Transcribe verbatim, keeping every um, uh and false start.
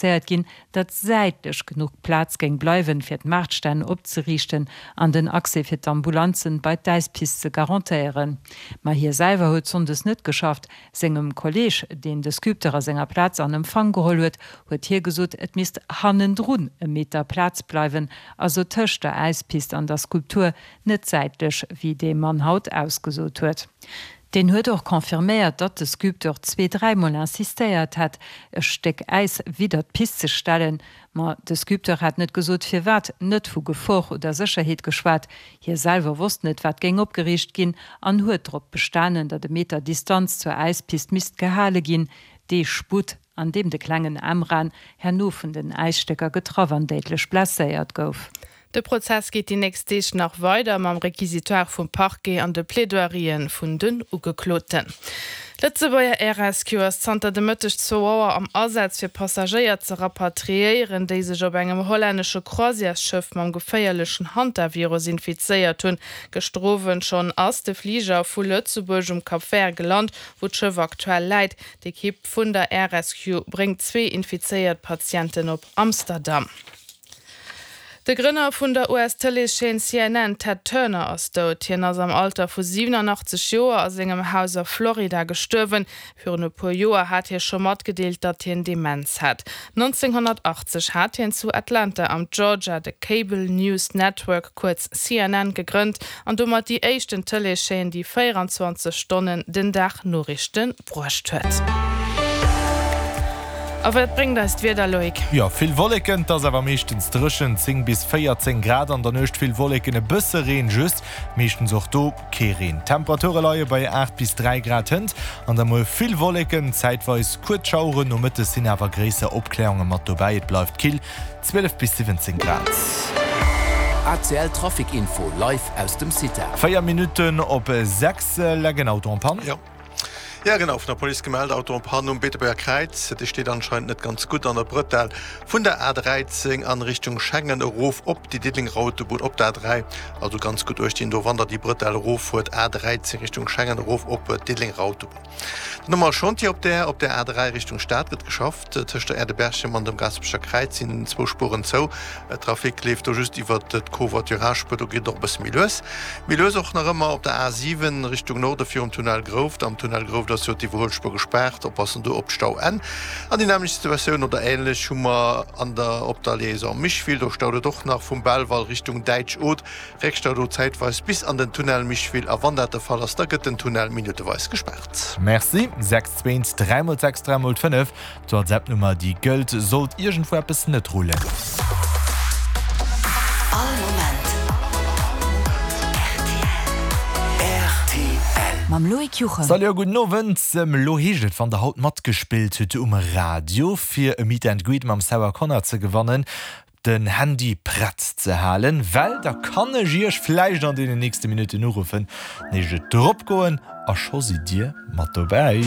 Zéiert ginn, datt säitlech genuch Plaz géing bleiwen, fir d'Maartstänn opzeriichten an den Accès fir d'Ambulanzen bei d'Äispist ze garantéieren. Ma hie selwer huet sonndes net geschafft. Sengem Kolleeg, deen de Sculpteur a senger Plaz an Empfang geholl huet, huet hie gesot, et misst hannendrun e Meter Plaz bleiwen, also tëscht der Äispist an der Skulptur, net säitlech, wéi dee Mann haut ausgesot huet. Deen huet och confirméiert, datt de Sculpteur zwee-, dräimol insistéiert hätt, e Stéck Äis widder d'Pist ze stellen. Ma de Sculpteur hätt net gesot, firwat, net vu Gefor oder Sécherheet geschwat. Hie selwer wosst net, wat géing opgeriicht ginn an huet drop bestanen, datt e Meter Distanz zur Äispist misst gehale ginn. Dee Sputt, an deem de klengen Emran herno vun den Äisstécker getraff an déidlech blesséiert gouf. De Prozess geet déi nächst Deeg nach weider mam Requisitoire vum Parquet an de Plaidoirien vun den Ugekloten. D'Lëtzebuerger Air Rescue ass zanter de Mëtteg zwou Auer am Asaz fir Passagéier ze rapatriéieren, déi sech op engem hollännesche Croisièresschëff mam geféierlechen Hantavirus infizéiert hunn. Gëschter Owend schonn ass de Fliger vu Lëtzebuerg um Cap Vert gelant, wou d'Schëff aktuell läit. D'Ekipp vun der Air Rescue bréngt zwee infizéiert Patienten op Amsterdam. De Grënner vun der U S-Tëleeschaîne C N N, Ted Turner, ass dout. Hien ass am Alter vu siwenanachtzeg Joer a sengem Haus a Florida gestuerwen. Virun e puer Joer hat hie scho matgedeelt, datt hien Demenz hätt. nonzénghonnertachtzeg hat hien zu Atlanta am Georgia de Cable News Network, kuerz C N N, gegrënnt an domat déi éischten Tëleeschaîne, déi véieranzwanzeg Stonnen den Dag Noriichte bruecht huet. A wat bréngt eis d'Wieder, Loïc? Jo, vill Wolleken, 't ass awer meeschtens dréchen, zéng bis véierzéng Grad, an der Nuecht vill Wolleken, e bësse Reen just, meeschtens och do kee Reen. D'Temperature leie bei aacht bis dräi Grad hënt an da muer vill Wolleken, zäitweis kuerz Schaueren, nomëttes sinn awer gréisser Opkläerunge mat dobäi, et bleift kill, zwielef bis siwwenzéng Grad. A C L Trafic Info live aus dem CITA. Véier Minutten op sechs, Legen Auto en panne. Jo. Ja genau, vun der Police gemellt, Auto en panne um Beetebuerger Kräiz. Dee steet anscheinend net ganz gutt an der Brëtell vun der A dräizéng an Richtung Schengen erof op déi Diddelenger Autobunn op der A dräi. Also ganz gutt uecht dinn do, wann der déi Brëtell eroffuert, A dräizéng Richtung Schengen erof op d'Diddelenger Autobunn. Den Nummer Chantier op der op der A dräi Richtung Stad gëtt geschafft. Tëscht der Aire de Berchem an dem Gaasperecher Kräiz sinn zwou Spueren zou. Trafic leeft do just iwwer d'Covoiturage-Spuer, do geet et och e bësse méi lues. Méi lues och nach ëmmer op der A siwen Richtung Norde virum Tunnel Grouft. Am Tunnel Grouft ass jo d'Iwwerhuelspuer gespaart, oppassen do op d'Stauenn. An déi nämmlecht Situatioun oder änlech hu mer an der op der Liaison Micheville, do staut et och nach vum Belval Richtung Däitsch Oth. Réckstau do zäitweis bis an den Tunnel Micheville a wann dat de Fall ass, da gëtt den Tunnel minutteweis gespaart. Merci. sechs zwee dräi mol sechs dräi mol fënnef, d'WhatsApp-Nummer déi gëllt, sollt iergendwou eppes net rullen. All Moment R T L. Mam Loïc Juchem. Salut a gudden Owend. Elo heescht et, wann der haut matgespillt hutt um Radio, fir e Meet and Greet mam Sarah Connor ze gewannen, den Handy prett ze halen, well da kann ech iech vläicht an deenen nächste Minutten uruffen, nees et drop goen a scho sidd dir mat dobäi.